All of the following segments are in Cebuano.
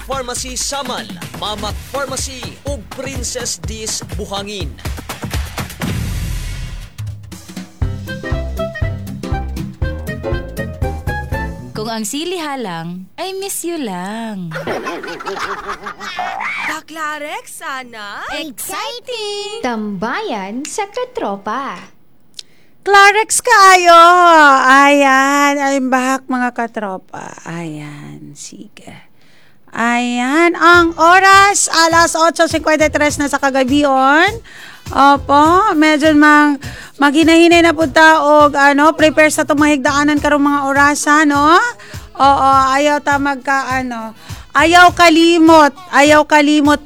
Pharmacy Samal, Mamak Pharmacy ug Princess Dis Buhangin. Kung ang sili halang, ay miss you lang. Bakla sana? Exciting! Tambayan sa Katropa. Clarex kaayo. Ayan, I'm back, mga katropa. Ayan, sige. Ayan, ang oras, alas 8:53 na sa kagabion. Opo, medyo mang maghinahinay na punta og ano, prepare sa tumahigdaanan karong mga orasa, no? Oo, ayaw ta magka ano, ayaw kalimot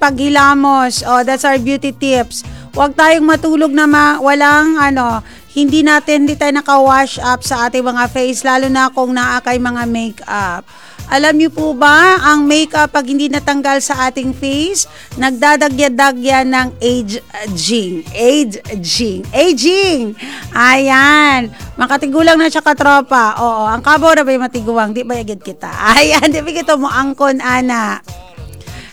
paghilamos. Oh, that's our beauty tips. Huwag tayong matulog na walang ano, hindi tayo naka-wash up sa ating mga face, lalo na kung naa kay mga makeup. Alam niyo po ba, ang makeup pag hindi natanggal sa ating face, nagdadagya-dagya ng aging. Aging. Aging! Ayan. Makatigulang na siya, katropa. Oo, ang kabaw na ba'y matiguang? Di ba yagid kita? Ayan, di ba kita mo angkon, ana?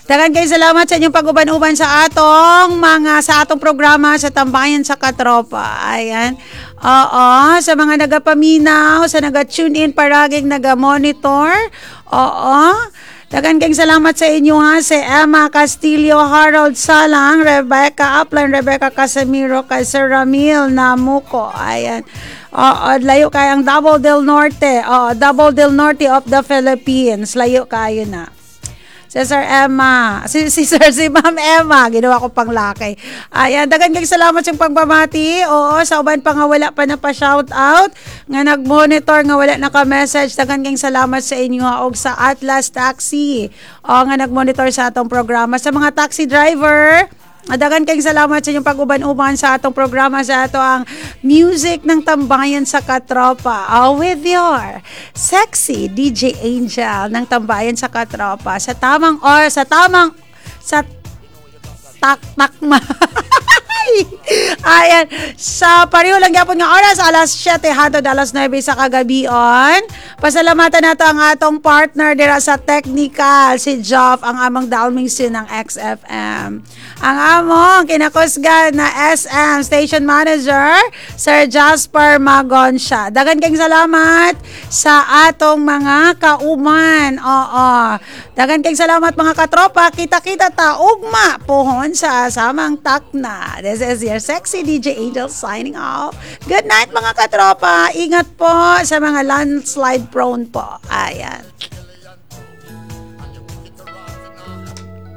Dagan kayo salamat sa inyong pag-uban-uban sa atong programa sa Tambayan sa Katropa. Ayan. Oo, sa mga nagapaminaw, sa naga-tune in paraging naga-monitor. Oo. Dagan kayong salamat sa inyo ha, si Emma Castillo, Harold Salang, Rebecca Upline, Rebecca Casemiro, kay Sir Ramil Namuko. Ayan. Oo, layo kayang Davao del Norte. Oo, Davao del Norte of the Philippines. Layo kayo na. Si Sir Emma, si Sir, si Ma'am Emma, ginawa ko pang laki. Ayan, dagan kay salamat sa pagpamati. Oo, sa uban pa nga wala pa na pa shout out, nga nag-monitor nga wala naka-message. Dagan kay salamat sa inyo ha, og sa Atlas Taxi. O nga nag-monitor sa atong programa. Sa mga taxi driver, dagan kayong salamat sa inyong pag-uban-uban sa atong programa sa ato ang music ng Tambayan sa Katropa. Oh, with your sexy DJ Angel ng Tambayan sa Katropa sa tamang or sa tamang sa tak tak ma. Ayan. Sa pareho lang gyapon nga oras, alas 7 hantod alas 9 sa kagabion. Pasalamatan nato ang atong partner dira sa technical, si Joff, ang among dalming sin ng XFM. Ang among kinakusgan na SM Station Manager, Sir Jasper Magonsha. Dagan kayong salamat sa atong mga kauman. Oo. Dagan kayong salamat, mga katropa. Kita-kita ta ugma pohon sa samang takna. This is your sexy DJ Angel signing off. Good night, mga katropa. Ingat po sa mga landslide prone po. Ayan.